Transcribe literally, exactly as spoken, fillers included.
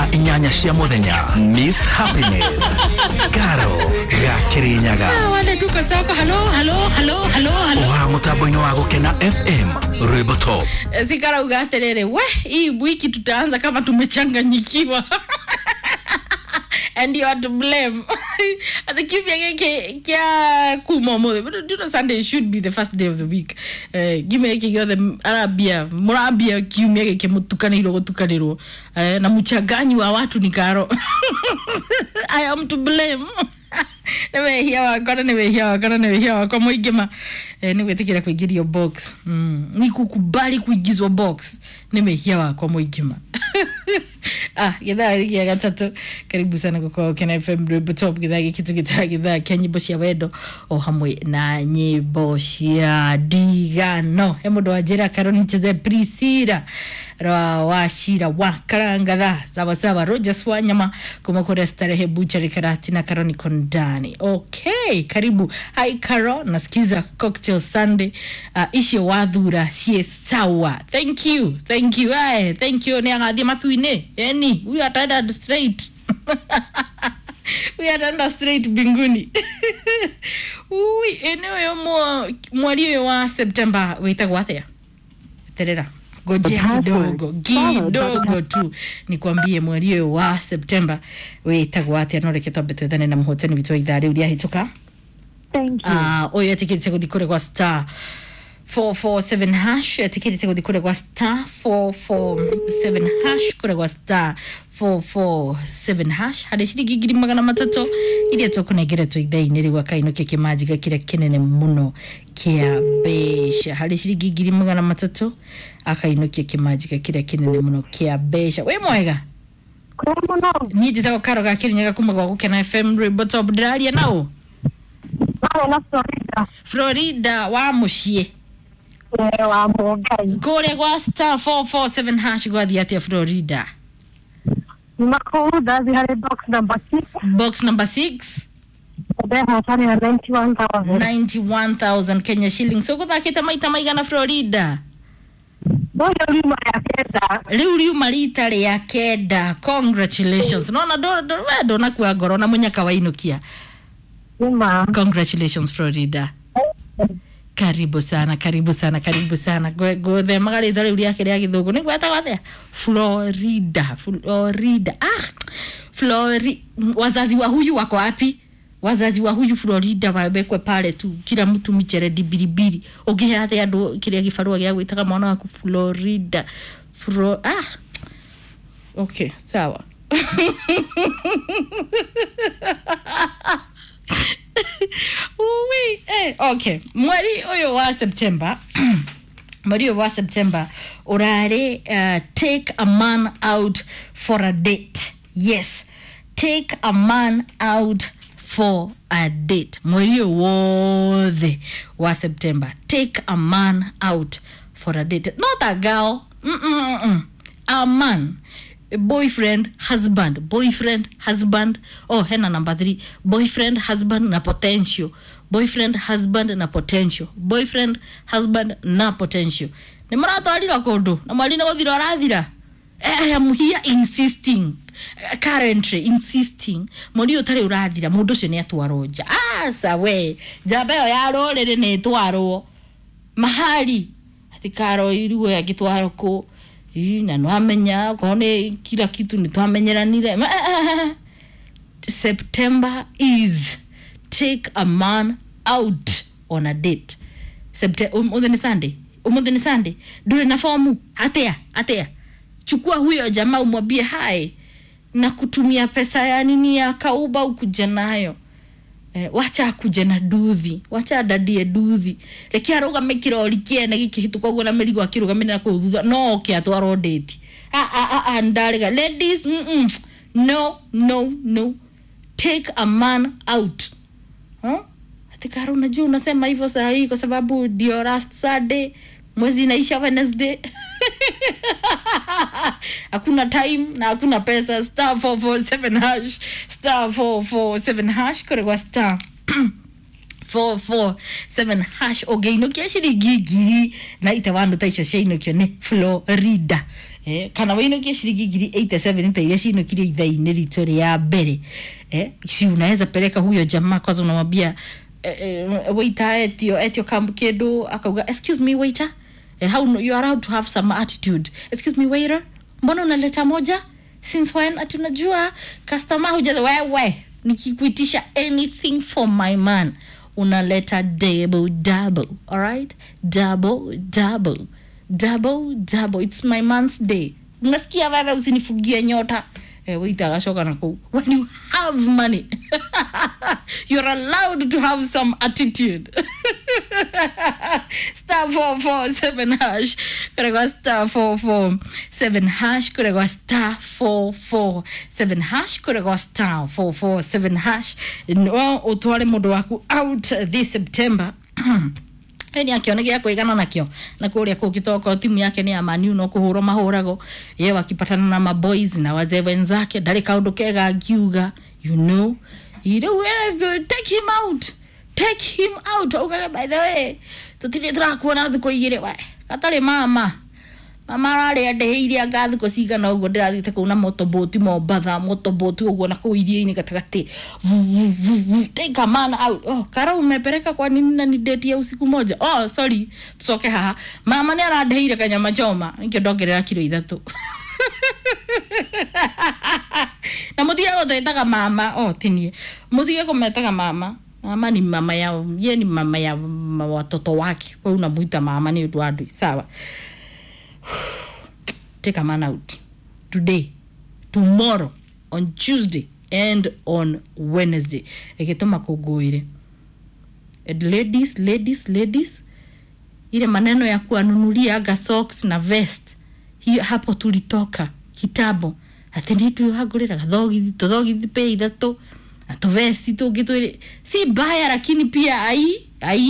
Thaa inyanya cia muthenya Miss Happiness Karo Gakirinyaga. Ah, wale tuko soko. Halo halo halo halo halo. Wa mutambo-inĩ wa Gukena F M Rwimbo Top. Sikarauga atiriri, we hii wiki tutaanza kama tumechanganyikiwa. And you are to blame. At the kiumia giki kia kuma umuthi. But do you know Sunday should be the first day of the week. Eh, kiumia giki giothe arambia, murambia kiumia giki mutukanirwo gutukanirwo. Eh, na muchanganyi wa watu ni Karo. I am to blame. Nĩ wehia wakwa na nĩ wehia wakwa na nĩ wehia wakwa mũingĩ ma. Eh, nĩ gwĩtĩkĩra kũingĩrio box. Mm. Ni kukubali kuingizwa box. Nĩ wehia wakwa mũingĩ ma. Ah, githaa gĩa gatatũ. Karibu sana gũkorwo Gukena F M Rwimbo Top. Githaa gĩkĩ tũgĩtaga githaa kĩa nyĩmbo cia wendo o hamwe na nyĩmbo cia ndigano. He mũndũ wanjĩra Karo nicheze Priscilla rwa wa Shira wa Karangatha. Sawa sawa. Rogers wa Nyama kuma kũrĩa Starehe Butchery Karati na Karo niko ndani. Okay, karibu. Hi Karo, nasikiza Cocktail Sunday. Uh, icio wathura ciĩ sawa. Thank you. Thank you. Aye, thank you. Nĩ agathiĩ matu-inĩ. Yani, huyu ataenda straight. Huyu ataenda straight mbinguni. Ui, eneo mweri ũyũ wa September wĩtagwo atĩa? Terera. Ngojea kidogo, kidogo tu nikwambie mweri ũyũ wa September wĩtagwo atĩa. No reke twambe twethane na mũhotani witũ wa ithaa rĩu rĩahĩtũka. Thank you. Ah, ũyũ etĩkĩrĩte gũthiĩ kũrĩa gwa star four four seven hash, etĩkĩrĩte gũthiĩ kũrĩa gwa star four four seven hash, kũrĩa gwa star four four seven hash harĩ ciringi ngiri magana matatũ iria tũkũnengeretwo ithaa-inĩ rĩu akainũkia kĩmanjĩka kĩrĩa kĩnene mũno kĩa mbeca. Harĩ ciringi ngiri magana matatũ akainũkia kĩmanjĩka kĩrĩa kĩnene mũno kĩa mbeca. Wĩ mwega? Kwĩ mũno. Niĩ njĩtagwo Karo Gakĩrinyaga kuma gwa Gukena F M Rwimbo Top. Ndĩraria na ũ? Marĩ na Florida. Florida wa mũciĩ. Eh, wa Mũngai. Kũrĩa gwa star four four seven hash gwathiĩ atĩa Florida? Nyuma kũu ndathiĩ harĩ box number six. Box number six. Ndehotanĩra ninety-one thousand. ninety-one thousand Kenya shillings. Ũgũthakĩte maita maigana Florida? Ũyũ riuma rĩa kenda. Rĩu riuma rita rĩa kenda. Congratulations. Nona we ndũnakua ngoro na mũnyaka wainũkia. Nĩma. Congratulations Florida. Karibu sana, karibu sana, karibu sana. Ngũthemaga rĩtwa rĩu rĩake rĩa gĩthũngũ. Nĩ gwetagwo atĩa? Florida, Florida. Ah, Flori, wazazi wa huyu wako wapi? Wazazi wa huyu Florida wawekwe pale tu, kila mtu micheredi biribiri. Ũngĩhe atĩa andũ kĩrĩa gĩbarũa gĩa gwĩtaga mwana waku Florida? Fro, ah. Okay, sawa. Ui, eh, okay. Mweri ũyũ wa September, mweri ũyũ wa September ũrarĩ uh, take a man out for a date. Yes, take a man out for a date. Mweri ũyũ wothe wa September, take a man out for a date. Not a girl. Mm-mm-mm. A man. Boyfriend, husband, boyfriend, husband. Oh, hena number three. Boyfriend, husband na potential. Boyfriend, husband na potential. Boyfriend, husband na potential. Nĩ mũratwarirwo kũndũ na mweri nĩ gũthira ũrathira. I am here insisting, currently insisting. Mweri ũyũ ũtarĩ ũrathira mũndũ ũcio nĩ atwarwo nja. Aca we, njamba ĩyo ya rũrĩrĩ nĩ ĩtwarwo mahali. Atĩ Karo iruo angĩtwarwo kũ? Ii, na nwamenya okorwo nĩ kila kitu nĩ twamenyeranire. September is take a man out on a date. September, ũmũthĩ nĩ Sunday. Ũmũthĩ nĩ Sunday. Ndũrĩ na fomu. Atĩa, atĩa. Chukua huyo jamaa umwambie hi na kutumia pesa ya nini ya kauba ukuje nayo. Eh, wacha akuje na nduthi, wacha adadie nduthi. Reke arũgame kĩrori kĩene gĩkĩhĩtũka ũguo na mĩrigo akĩrũgamĩrĩra kũu thutha, no oke atwarwo date. Ah, ah, ah, ah, ndarega. Ladies, mm -mm. No, no, no. Take a man out. Huh? Ati Karo, unajua unasema hivyo saa hii kwa sababu ndio last Sunday, mwezi inaisha Wednesday. Hakuna time na hakuna pesa. Star four four seven hash, star four four seven hash, kore kwa star four four seven hash. Ũngĩinũkia ciringi ngiri na itawano ta icio ciainũkio nĩ Florida. Eh, kana wainukie shilingi ngiri eighty-seven ta iria ciinukirie ithaa-inĩ ritũ rĩa mbere. Eh, si unaweza peleka huyo jamaa kwanza, unamwambia eh, eh, waiter etio etio kam kindu, akauga, "Excuse me, waiter." Eh, how you are allowed to have some attitude. "Excuse me, waiter, mbona unaleta moja? Since when?" Ati unajua customer huja. Wewe, nikikuitisha anything for my man, unaleta double double. Alright, double double, double double. It's my man's day, unasikia wewe? Usinifugie nyota. Eh, waiter agacoka na kuu. When you have money, you're allowed to have some attitude. Star four four seven hash kuregwa star four four seven hash kuregwa star four four seven hash kuregwa star four four seven hash, no utware mundu waku out this September. Eni akiona gĩa kwĩgana nakĩo na kũrĩa kũngĩ toko timu yake nĩ ya Man U, no kũhũrwo mahũragwo ye wakipatana na maboys na wazee wenzake ndarĩ kaũndũ kega angiuga. You know rĩu, eh, take him out, take him out, augage, "By the way, tũtirĩ tũrakuona thikũ igĩrĩ." We gatarĩ mama, mama ararĩ andĩhĩire anga thikũ cigana ũguo ndĩrathiĩte kũu na motoboti Mombatha, motoboti ũguo na kũu iria-inĩ gatagatĩ. Vu, vu, vu, vu, take a man out. Oh, kara umepeleka kwa nini na ni date ya usiku moja? Oh, sorry, tucoke haha. Mama nĩ arandĩhĩire kanyama choma, nikĩo ndongerera kiro ithatũ. Na mũtige gũtwĩtaga mama. Oh, tinie mũtige kũmetaga mama. Mama ni mama yao, ye ni mama ya ma- watoto wake. We unamuita mama nĩ ũndũ wa ndui. Sawa, take a man out today, tomorrow, on Tuesday and on Wednesday. Reke tũmakũngũĩre. And ladies, ladies, ladies, ile maneno ya kuanunulia anga socks na vest, hiyo hapo tulitoka kitambo. Ati nĩ twĩhangũrĩra gathogithi, tũthogithi pĩ ithatũ na tũvesti tũngĩ twĩrĩ, si mbaya, lakini pia ai ai.